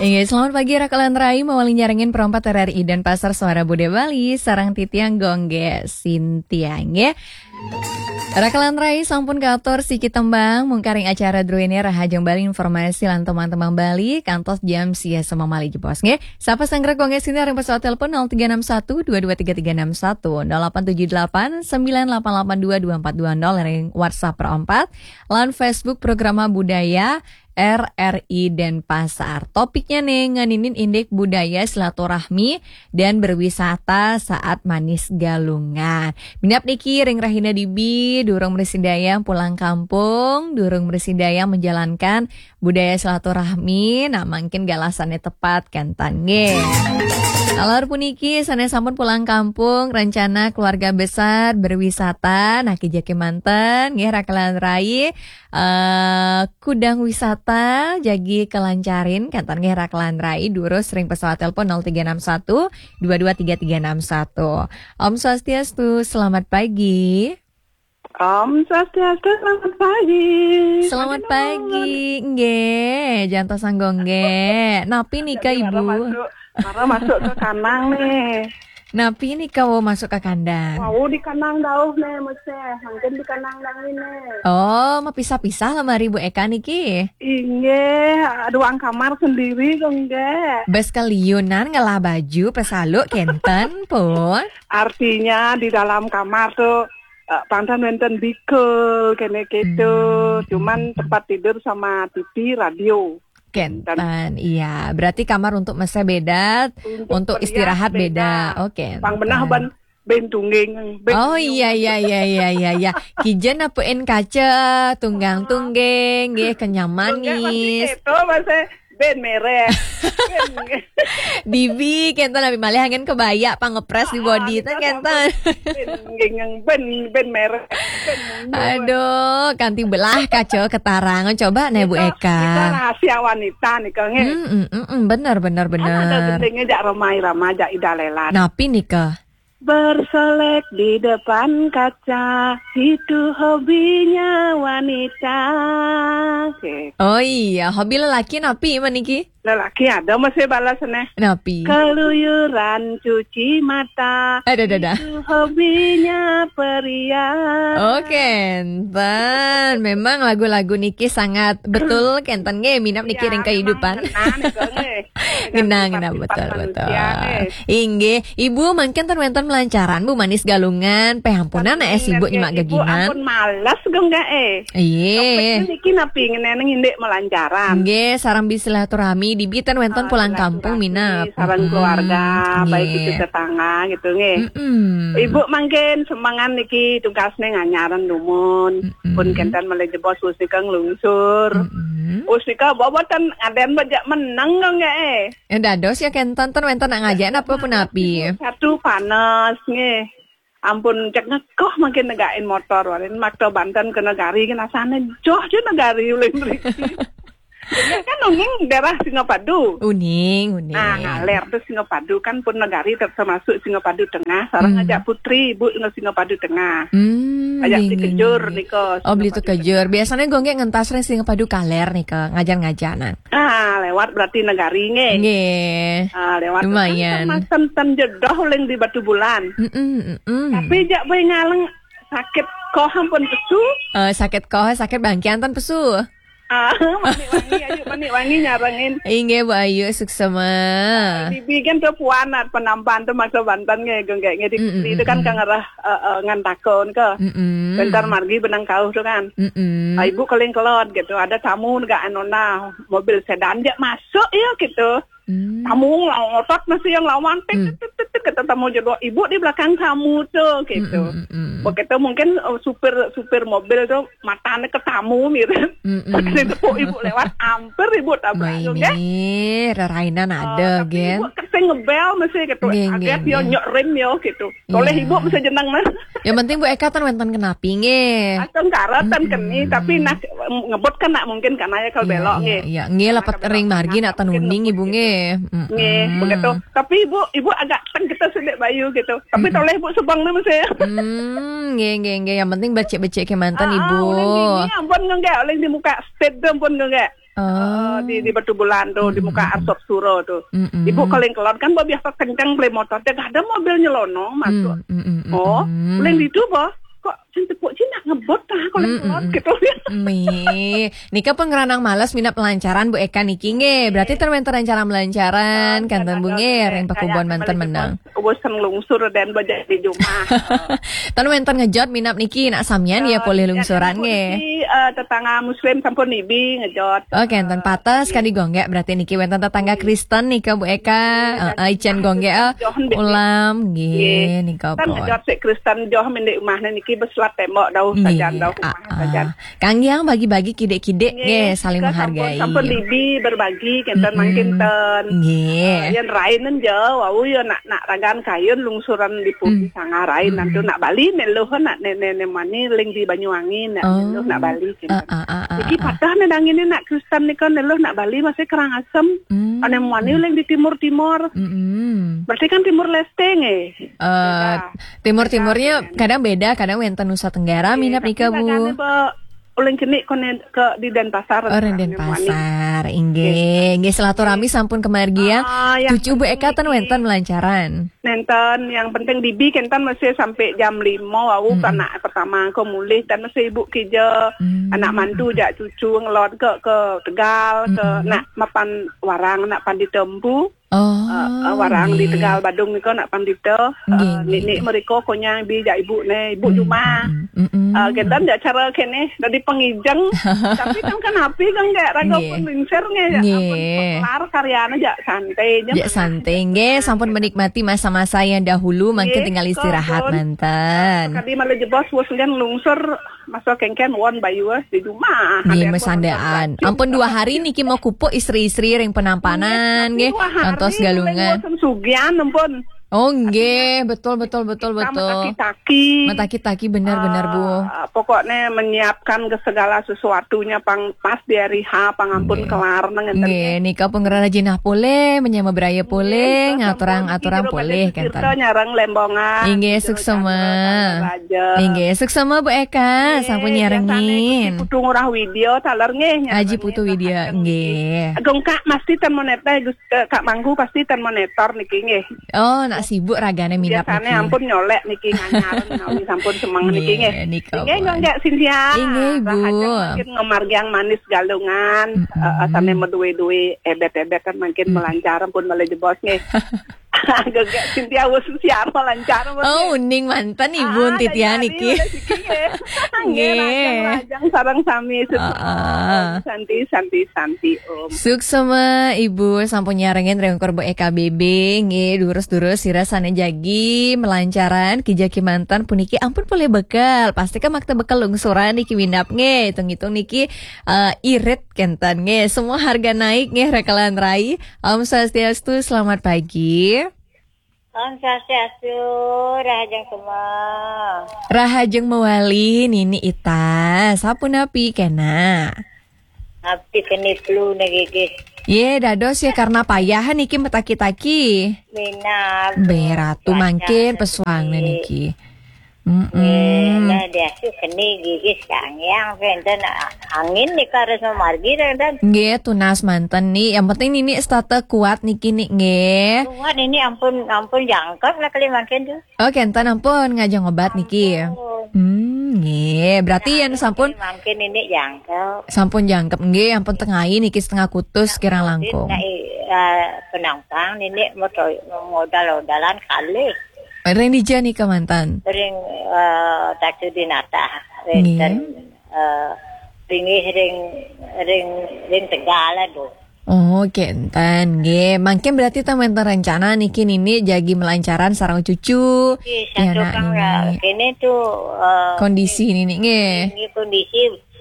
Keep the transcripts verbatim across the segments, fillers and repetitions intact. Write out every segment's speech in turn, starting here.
Inggih, selamat pagi Rakalan Rai, mawali nyarengin perempat R R I Denpasar Suara Budaya Bali, sareng titiang Gung Gé Sintia, nggih. Rakalan Rai sampun katur siki tembang, mungkaring acara druéné Rahajeng Bali Informasi lan Tembang-tembang Bali, kantos jam sia sami malih jebos, nggih. Sapa sanggra Gung Gé Sintia ring pesawat telepon nol tiga enam satu dua dua tiga tiga enam satu, nol delapan tujuh delapan sembilan delapan delapan dua dua empat dua nol ring WhatsApp perempat, lan Facebook Programa Budaya R R I Denpasar. Topiknya nih, ngeninin indik budaya silaturahmi dan berwisata saat Manis Galungan. Minab niki ring rahina dibi, durung mresidayang pulang kampung, durung mresidayang menjalankan budaya silaturahmi, nah mangkin galasannya tepat kan tan nggih. Alor puniki sané sampun pulang kampung, rencana keluarga besar berwisata, nah kija kémanten nggih Rakalan Rai, eh, kudang wisata jagi kelancarin, kantan nggih Rakalan Rai, durus ring pesawat telepon nol tiga enam satu dua dua tiga tiga enam satu. Om Swastiastu, selamat pagi. Om Swastiastu, selamat pagi. Selamat pagi, nggih, jantos Gung Gé. Napi nika, Ibu? Mara masuk, mara masuk ke kanang nih. Napi nika wau masuk ke kandang? Wau di kanang dauh nih, mesti. Mungkin di kanang dauh ini. Oh, mapisah-pisah lemari Bu Eka niki? Inggih, ada ruang kamar sendiri, Gung Gé. Bes keliunan ngelah baju, pesaluk, kenten, pun. Artinya di dalam kamar tuh, eh, pangtan wénten bikel, kéné gitu. Hmm. Cuman tempat tidur sama T V, radio. Kenten, iya. Berarti kamar untuk mesé beda, untuk istirahat beda. Oh, kenten. Pang benah ban, ben tungging, ben. Oh, iya, iya, iya, iya, iya, iya. Kija napukin kaca, tunggang-tungging, nggih, kenyam manis. Itu masih ben merek. Dibi, kenten, napi malih angin kebaya, pangepres di body, ah, kenten. Ben, ben, ben merek. Aduh, kanti belah kaca ketarang. Coba nih, Bu Eka. Itu rahasia wanita nih, Kang, eh. Mm, mm, mm, mm, bener, bener, bener. Kan ada gendingnya jak Rhoma Irama, jak Ida Lelan. Napi nika? Bersolek di depan kaca, itu hobinya wanita. Oke. Oh iya, hobi lelaki napi maniki? Lelaki ada masih balas nih. Napi? Keluyuran cuci mata. Ada, ada, ada. Itu hobinya pria. Oke, enten. Memang lagu-lagu niki sangat betul, kenten nggih, minab niki ring kehidupan. Ngenah, ngenah, betul, betul. Inggih, Ibu mangkin ten wénten melancaran, Bu, Manis Galungan, peh ampunan, eh, sibuk nyemak geginan. Ampun males, Gung Gé, eh. Iya. Topiknya niki napi ngeneneng indik melancaran. Nggih, sareng bisilaturahmi, dibi ten wénten pulang kampung, minab. Sareng keluarga, baik itu tetangga gitu, nggih. Mm-mm. Ibu mangkin semangan niki tugasnya nganyaran dumun. Mm-mm. Pun kenten malih jebos usika nglungsur. Mm-mm. Usika boboten ngaden bejak meneng, Gung Gé, eh. Eh, dados ya kenten ten wénten nak ngajak napa punapi? Satu panas, nggih. Ampun cek ngekoh mangkin negakin motor, warin makta banten ke negari, kan asane joh je negari ulih mriki. Ini kan uning daerah Singapadu. Uning, uning. Nah, ngaler tuh Singapadu kan pun negari ter-, termasuk Singapadu Tengah. Sareng ngajak putri ibu nge Singapadu Tengah. Hmm, ajak nggih, beli nggih, kejur nggih. Nika. Oh, beli Singapadu kejur. Biasanya gue nggih ngentas ring Singapadu kaler nika, ngajar-ngajar nah. Ah, lewat berarti negari nggih. Nggih. Ah, lewat. Lumayan. Kan sama senten jedoh uling di Batu Bulan. Mm-mm, mm-mm. Tapi jak boy ngaleng sakit koh ampun pesu. Eh, sakit koh, sakit bangkian ten pesu. Ah, manik wangi, ayu manik wangi nyarengin. Inggih, Bu Ayu, suksema. Bibi kan tuh puan at penampan tuh maksa banten nggih, gung nggih, nggih, di, mm-mm, itu kan, mm-mm, kang arah, eh, eh, ngan takon ke. Mm-mm. Bentar margi benang kauh tuh kan. Mm-mm. Ah, ibu keling kelot gitu, ada tamu nggak anu nah, mobil sedan jak masuk ya gitu. Hmm. Tamu ngotot masih yang lawan, tek, hmm, tek, tek, tek, tek, kata tamu jodoh, ibu di belakang tamu tuh gitu. Hmm, hmm, hmm, hmm. Begitu mungkin, eh, supir, supir mobil tuh matanya ke tamu mirip. Hmm, hmm. Begitu tepuk ibu lewat, hampir ibu tabrak. Wah, juga ini rerainan, eh, ada, tapi gen. Ibu kesing ngebel masih gitu. Gen, agak gen, yo gen. Nyok rem yo gitu. Toleh, iya, ibu bisa jeneng nah. Yang penting Bu Eka ten wénten kenapi nggih. Asal karatan, hmm, keni, tapi nak ngebut kan nak mungkin karena ya kalau, iya, belok, iya, nggih. Iya, nggih, karena lepet ring margi nak ten uning ibu nggih. Nggih, hmm, begitu. Tapi ibu, ibu agak teng kita sedek bayu gitu. Tapi, hmm, toleh ibu sebang nih masih. Hmm, nggih, nggih, nggih. Yang penting becik-becik kemanten, ah, ibu. Uling gini ampun nggak, uling di muka stage tuh ampun nggak. Oh. Eh, di, di Batubulan tu, di muka Arsop Suro tu. Mm-mm. Ibu kalau yang kelon kan, bah, biasa kenceng beli motor, dia ada mobil nyelonong masuk. Mm, mm, mm, mm, oh, mm. Yang di tu, bah, kok sing tepuk Cina ngebut kah kalau yang kelon gitu. Mi, nika pun ngeranang males minap lancaran Bu Eka niki nggih. Berarti ten wenten rencana melancaran, kan ten Bu nggih, ring pakubon manten menang. Wes lungsur dan belajar di rumah. Ten wenten ngejot minap niki nak samian ya, polih lungsuran nggih. Niki, eh, tetangga muslim sampun nibi ngejot. Oh, kenten pates kadi gonggek, berarti niki wenten tetangga Kristen nika Bu Eka. Heeh, ican gonggek, eh, ulam nggih nika pun. Kan ngejot sik Kristen joh mendek umahne niki beselat tembok dauh sajan, dauh umah sajan. Kanggiang bagi-bagi kidik-kidik nggih, saling menghargai. Sampun nibi berbagi kenten mangkin ten. Nggih. Eh, yang rainen jauh, wau ya nak, nak ragan kayun lungsuran di Pugi Sangarain, nanti nak Bali neluh nak nenek mani ling di Banyuwangi nak neluh nak Bali gitu. Iki patah ne dangine nak Kristen nika neluh nak Bali masih kerang asem. Ane mani ling di timur-timur. Berarti kan Timur Leste nggih. Eh, timur-timurnya kadang beda, kadang wenten Nusa Tenggara minap nika Bu. Uleng cenik konen ke di Denpasar. Oh, ring Denpasar, inggih. Inggih, silaturahmi sampun kemargiang. Ah, yang cucu Bu Eka ten wenten melancaran. Nenten, yang penting dibi kenten masih sampai jam lima wau anak pertama ke mulih, dan masih ibu kija, anak mantu jak cucu ngelot ke, ke Tegal, ke nak mapan warang, nak pan ditempu. Oh, eh, eh, warang di Tegal Badung nika nak pandita. Eh, nggih, nggih, nenek mereka konyang bi jak ibu ne, ibu cuma. Eh, gendan jak cara kene dadi pengijeng. Tapi kan kan api kan gak raga pun lingsir nge, jak ampun, kelar karyana jak santai je. Jak santai nggih, sampun menikmati masa-masa yang dahulu, mungkin tinggal istirahat manten. Tadi malah jebos bos hujan lungsur. Masa kengken won bayu, eh, di rumah. Nggih, mesandaan. Ampun dua hari niki mau kupuk istri-istri ring penampanan nggih. Ngantos Galungan. Bosen sugian ampun. Oh nggih, betul, betul, betul, betul. Metaki-taki. Metaki-taki, bener, bener Bu. Ah, pokoknya menyiapkan ke segala sesuatunya pang pas di hari H, pang ampun kelar nang ngenten. Nggih, nika pun ngerajinah pulih, menyama beraya pulih, ngaturang-aturang pulih kenten. Nyarang lembongan. Inggih, suksema. Inggih, suksema Bu Eka, sampun nyarengin. Putu Ngurah Widya taler nggih. Aji Putu Widya nggih. Agung Kak pasti ten monitor, Gus, eh, Kak Manggu pasti ten monitor niki nggih. Oh, nak sibuk ragane minap niki. Biasane ampun nyolek niki nganyar menawi sampun semeng niki nggih. Nggih, nggih, Cynthia. Inggih, Bu. Rahajeng mangkin ngemargiang manis Galungan, eh, sane meduwe-duwe ebet-ebet kan mangkin melancar ampun malih jebos nggih. Gegek Cynthia wis siar lancar. Oh, uning manten Ibu Titian niki. Nggih, lajeng, lajeng sareng sami. Santi, santi, santi, Om. Suksema Ibu sampun nyarengin ring Korbo E K B B. Nggih, durus-durus sira sane jagi melancaran kija kimanten puniki ampun polih bekel. Pasti kan makta bekel lungsuran niki minap nggih. Hitung-hitung niki, eh, irit kenten nggih. Semua harga naik nggih, rekelan rai. Om Swastiastu, selamat pagi. Om Swastiastu, rahajeng semua. Rahajeng mawali, Nini Ita. Sapunapi kena? Napi keni flu ne gigi. Ye, dados ya karena payah niki metaki-taki. Minab. Beratu mangkin pesuang niki. Mm-mm. Eh, lah, dia tu keni gigi sangyang, enten angin ni harus memargi dan. Nggih, tunas manten ni. Yang penting nini setata kuat niki ni nggih. Kuat ini ampun, ampun jangkep lah kali mangkin tu. Oh, kenten ampun ngajeng obat niki. Ampun. Hmm, nggih. Berarti yang sampun mangkin ini jangkep. Sampun jangkep nggih, ampun tengai niki setengah kutus kirang langkung. Nah, eh, penampang nini modal-modalan kali. Ring dija nika manten? Ring, eh, Tatu Dinata. Ring, eh, ring, ring, ring Tegal, aduh. Oh, kenten nggih. Mangkin berarti ten wenten rencana niki nini jagi melancaran sareng cucu. Nggih, satu kang nini. Kene tu, eh, kondisi nini nggih. Ini kondisi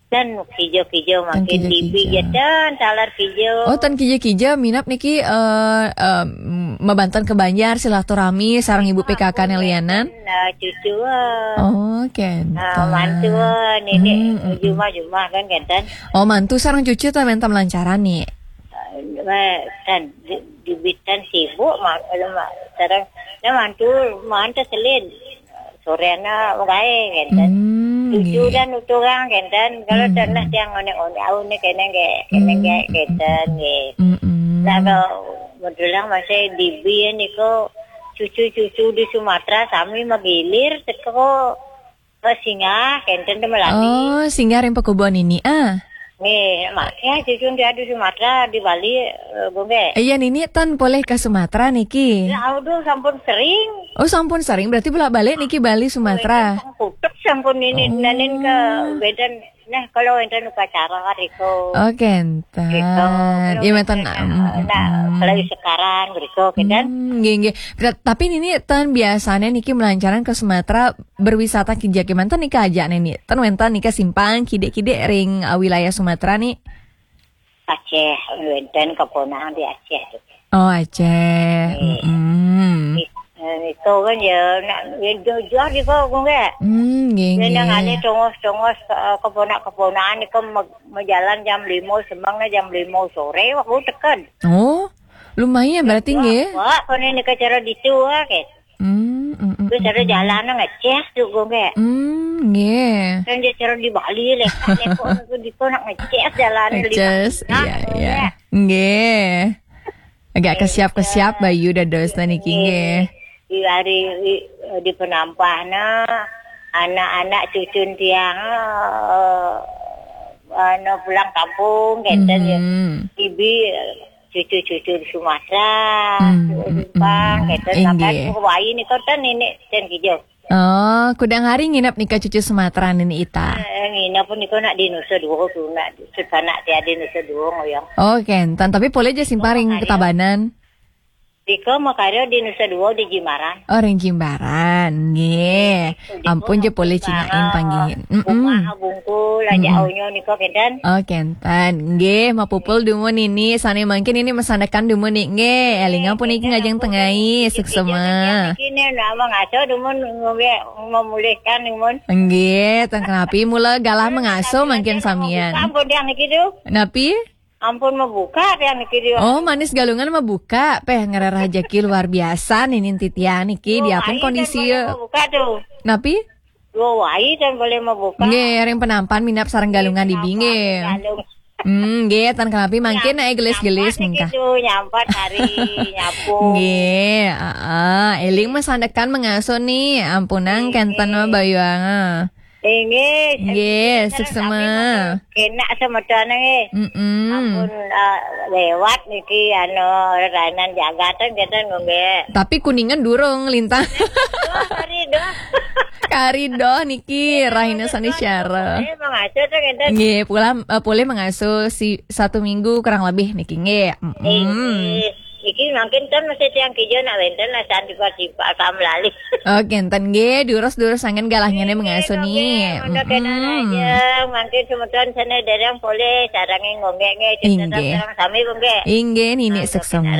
dan kijo-kijo makin dibi jatan talar kijo. Oh, ten kijo-kijo minap niki, eh, eh, mabanten ke Banjar silaturahmi sareng ibu P K K ne lianan. Nah, cucu. Oh, kenten. Nah, mantu, nini jumah-jumah kan kenten. Oh, mantu sareng cucu ten wenten melancaran ni. Eh, kan di, dibitan sibuk mah, sareng, nah, mantu mantu selin. Sorena gae kenten. Hmm. Cucu nggih. Dan utuh kan kenten, kalau hmm. Tanah tiang onek-onek, au nih kene nggih, kene nggih, hmm. Kenten nggih. Hmm. Nah, kalau modelang masih dibi niku cucu-cucu di Sumatera sami magilir teko ke singgah, kenten temelati. Oh, singgah ring pekubon ini, ah. Nggih, mak ya cucu dia di Sumatera, di Bali, eh, Bu nggih. Iya, nini ten polih ke Sumatera niki. Ya, aduh, sampun sering. Oh, sampun sering. Berarti bolak-balik niki Bali Sumatera. Kutuk sampun ini, oh. Nanin ke Medan. Nah, kalau enten upacara riko. Oh, kenten. Riko. Iya, menten. Nah, kalau sekarang riko, kenten. Hmm, nggih, nggih. Tapi nini ten biasanya niki melancaran ke Sumatera berwisata kija kemanten nika aja nini. Ten wenten nika simpang kidik-kidik ring, uh, wilayah Sumatera nih. Aceh, wenten keponang di Aceh. Oh, Aceh. Iya. Mm-mm. Itu kan ya, nak ya jauh-jauh di kok, kok nggak? Hmm, nggih, nggih. Nang ane tongos-tongos, eh, keponak-keponakan itu me-, mejalan jam lima, semangnya jam lima sore, waktu tekan. Oh, lumayan berarti nggih. Wah, kono ini acara ditu, wah, kayak. Hmm, mm, mm. Terus ada jalan ngeceh tuh, kok nggak? Hmm, nggih. Kan dia acara di Bali, lek, lek, kok, aku di kok nak ngeceh jalan, ngeceh, iya, iya. Nggih. Agak kesiap-kesiap bayu dados niki nggih. Di hari di, di penampahna anak-anak cucun tiang, eh, anu, pulang kampung kenten ya. Hmm. Ibi, eh, cucu-cucu di Sumatera, hmm, Jepang, hmm, kenten sampai ke Hawaii nih kenten ini dan kijau. Oh, kudang hari nginep nika cucu Sumatera nini ita. Eh, nginep pun nika nak di Nusa Dua tu, nak sepanak tiada Nusa Dua ngoyong. Oh, kenten. Tapi boleh aja simpang ring Ketabanan. Nika makarya di Nusa Dua di Jimbaran. Oh, ring Jimbaran. Nggih. Ampun aja boleh cinain panggihin. Mm-mm. Rumah bungkul aja aunya nika kenten. Oh, kenten. Nggih, mapupul dumun ini, sane mangkin ini mesandekan dumun nih. Nggih, eling ampun iki ngajeng tengai, suksema. Iki nih nama ngaco dumun ngombe memulihkan dumun. Nggih, ten kenapi mula galah mengaso mangkin samian. Ampun yang niki tuh. Napi? Ampun mabuka yang niki tuh. Oh, Manis Galungan mabuka, peh ngerah rejeki luar biasa nih ninti tiang niki, diapun kondisi. Mabuka tuh. Napi? Dua wai dan boleh mabuka. Nggih, ring penampan minap sareng Galungan di binge. Galung. Hmm, nggih, tan kenapi mangkin naik gelis-gelis mengkah. Nyampat hari nyapu. Nggih, heeh, eling mesandekan mengaso nih, ampunang kenten mah bayuanga. Inggih. Nggih, suksema. Kena semeton nggih. Mm-mm. Ampun, eh, lewat niki anu rainan jagatan kenten nggih. Tapi Kuningan durung lintang. Doh, hari doh. Kari doh niki rahina sane syara. Eh, mengaso tuh kenten. Nggih, pulang, eh, boleh mengaso si satu minggu kurang lebih niki nggih. Mm-mm. Inggih. Iki mangkin ten masih tiang kijo nak wenten lah cantik tiba kam lali. Oke, enten nggih, durus-durus angin galahnya nih mengaso nih. Udah kena aja, mangkin semeton sana dereng boleh sarange ngonggek nggih, inggih. Sareng sami nggih. Inggih, nini suksema.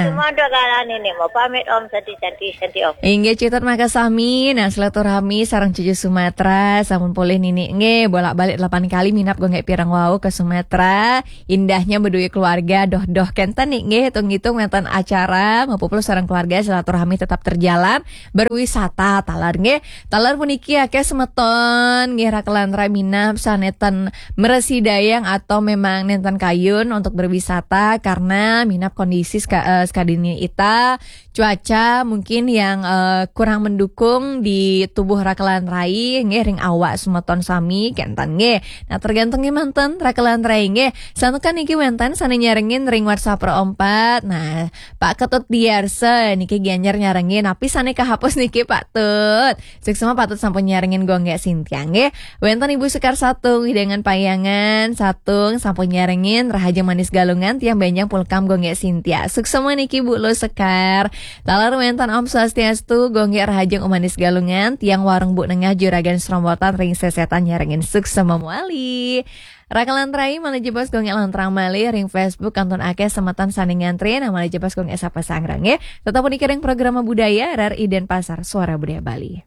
Semua udah galah nini, mau pamit Om, santi-santi, santi Om. Inggih, cutet makasami, nah silaturahmi sareng cucu Sumatera, sampun polih nini nggih, bolak-balik delapan kali minap nggih pirang wau ke Sumatera. Indahnya beduit keluarga, doh-doh kenten nih, nggih, hitung-hitung wenten acara, mapupul sareng keluarga, silaturahmi tetap terjalan, berwisata, taler, nggih. Taler puniki akeh semeton, nggih, rakelan rai minap, saneten meresi dayang atau memang nenten kayun untuk berwisata, karena minap kondisi seka-, eh, sekadini ita, cuaca mungkin yang, eh, kurang mendukung di tubuh rakelan rai, nggih, ring awak semeton sami, kenten, nggih. Nah, tergantung nggih manten rakelan rai, nggih. Santukan niki wenten sane nyarengin ring WhatsApp Pro empat. Nah, Pak Ketut Diarsa niki Gianyar nyarengin, napi sane kahapus niki Pak Tut? Suksema Pak Tut sampun nyarengin gonggek Sintia, nggih. Wenten Ibu Sekar Satung, Widangan Payangan, Satung, sampun nyarengin, Rahajeng Manis Galungan, tiang benjang pulkam gonggek Sintia. Suksema niki Bu Lo Sekar. Taler wenten Om Swastiastu, gonggek Rahajeng Om Manis Galungan, tiang warung Bu Nengah Juragan Serombotan ring sesetan nyarengin suksema mawali. Rakelan rai malih jebos gonggek lantrang malih ring Facebook kantun akeh semeton sane ngantri, nah malih jebos gonggek sapa sangrang nggih. Tetep puniki ring program budaya, R R I Denpasar, Suara Budaya Bali.